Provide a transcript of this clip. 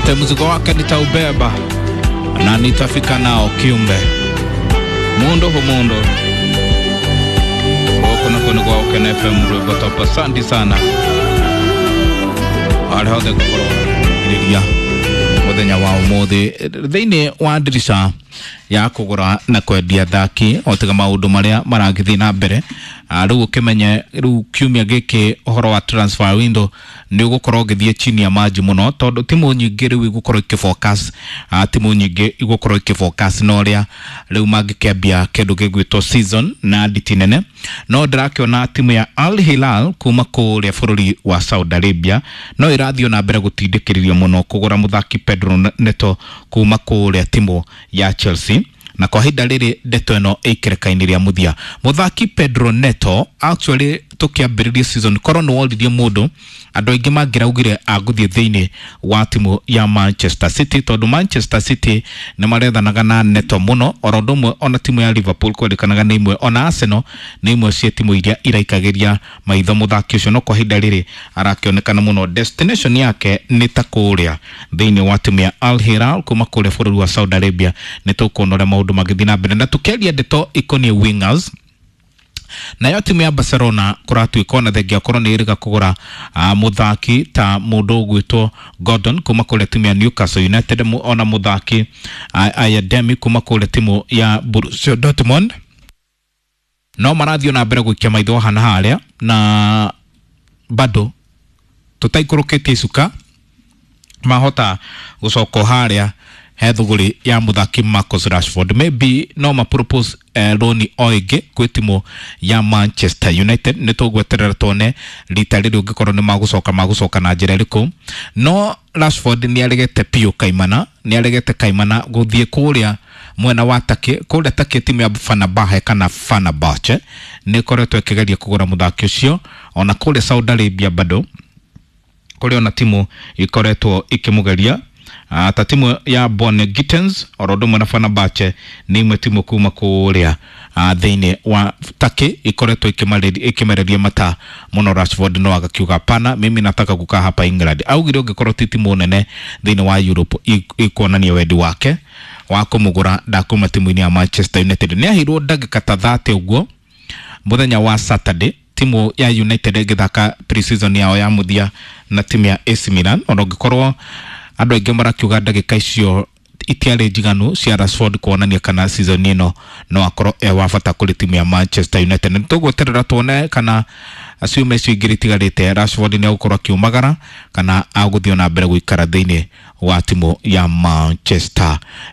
Ate mzigo wake nitaubeba na nitafika nao kiumbe mundu hu mundu gũkũ nakuo nĩ gwa Ũkena FM rwĩmbo top. Asante sana arĩa othe ngũkorwo ngĩrĩria mũthenya wa ũmũthĩ thĩinĩ wa ndirica ya kũgũra na kwendia athaki o tiga maũndũ marĩa maragĩthiĩ na mbere. Rĩu ũkĩmenye rĩu kiumia gĩkĩ ũhoro wa transfer window nĩ ũgũkorwo ũgĩthiĩ chini ya maji mũno, tondũ timu nyingĩ rĩu igũkorwo ikĩfocus, timu nyingĩ igũkorwo ikĩfocus na ũrĩa rĩu mangĩkĩambia kĩndũ gĩgwĩtwo season na nditi nene. No ndĩrakĩona timu ya Al Hilal kuma kũrĩa bũrũri wa Saudi Arabia no ĩrathiĩ na mbere gũtindĩkĩrĩrio mũno kũgũra mũthaki Pedro Neto kuma kũrĩa timu ya Chelsea, na kwa ihinda rĩrĩ ndeto ĩno ĩikĩrĩka-inĩ rĩa mũthia. Mũthaki Pedro Neto actually tũkĩambĩrĩria season korwo nĩ woririe mũndũ, andũ aingĩ mangĩraugire agũthiĩ thĩinĩ wa timu ya Manchester City, tondũ Manchester City nĩ marethanaga na Neto mũno, oro ũndũ ũmwe ona timu ya Liverpool kwendekanaga nĩ imwe, ona Arsenal nĩ imwe cia timu iria iraikagĩria maitho mũthaki ũcio. No kwa ihinda rĩrĩ arakĩonekana mũno destination yake nĩ ta kũrĩa thĩinĩ wa timu ya Al Hilal kuma kũrĩa bũrũri wa Saudi Arabia. Nĩ tũkuona ũrĩa maũndũ magĩthiĩ na mbere, na tũkĩaria ndeto ikoniĩ wingers, nayo timu ya Barcelona kũratuĩka ona thengia korwo nĩ ĩrĩga kũgũra mũthaki ta mũndũ ũgwĩtwo Gordon kuma kũrĩa timu ya Newcastle United, ona mũthaki Ayademi kuma kũrĩa timu ya Borussia Dortmund, no marathiĩ na mbere gũikia maitho hana harĩa, na bado tũtaikũrũkĩtie icuka mahota gũcoka harĩa he thũgũrĩ ya mũthaki Marcus Rashford. Maybe no ma propose loan o ĩngĩ gwĩ timu ya Manchester United. Nĩ tũgweterera tuone rita rĩrĩ ũngĩkorwo nĩ magũcoka magũcoka na njĩra ĩrĩkũ. No Rashford nĩ aregete biũ kaimana, nĩ aregete kaimana gũthiĩ kũrĩa mwena wa Turkey. Kũrĩa Turkey timu ya Fenerbahce kana Fenerbahce nĩ ĩkoretwo ĩkĩgeria kũgũra mũthaki ũcio, ona kũrĩa Saudi Arabia bado kũrĩ ona timu ikoretwo ikĩmũgeria, ta timu ya Bon Gittens oro ũndũ ũmwe na Fenerbahce nĩ imwe timu kuma kũrĩa thĩinĩ wa Turkey ikoretwo ĩkĩmereria mata mũno Rashford, no agakiuga pana, mimi nataka kukaa hapa England. Augire ũngĩkorwo ti timu nene thĩinĩ wa Europe ikuonania wendi wake wa kũmũgũra, ndakuma timu-inĩ ya Manchester United. Nĩ aheirwo ndagĩka ta 30 ũguo mũthenya wa Saturday, timu ya United ĩgĩthaka pre-season yao ya mũthia na timu ya AC Milan, ona ũngĩkorwo andũ aingĩ marakiuga ndagĩka icio itiarĩ njiganu cia Rashford kuonania kana season ĩno no akorwo e wa bata kũrĩ timu ya Manchester United. Nĩ tũgweterera tuone kana ciumia icio igĩrĩ itigarĩte Rashford nĩ egũkorwo akiumagara kana agũthiĩ na mbere gũikara thĩinĩ wa timu ya Manchester.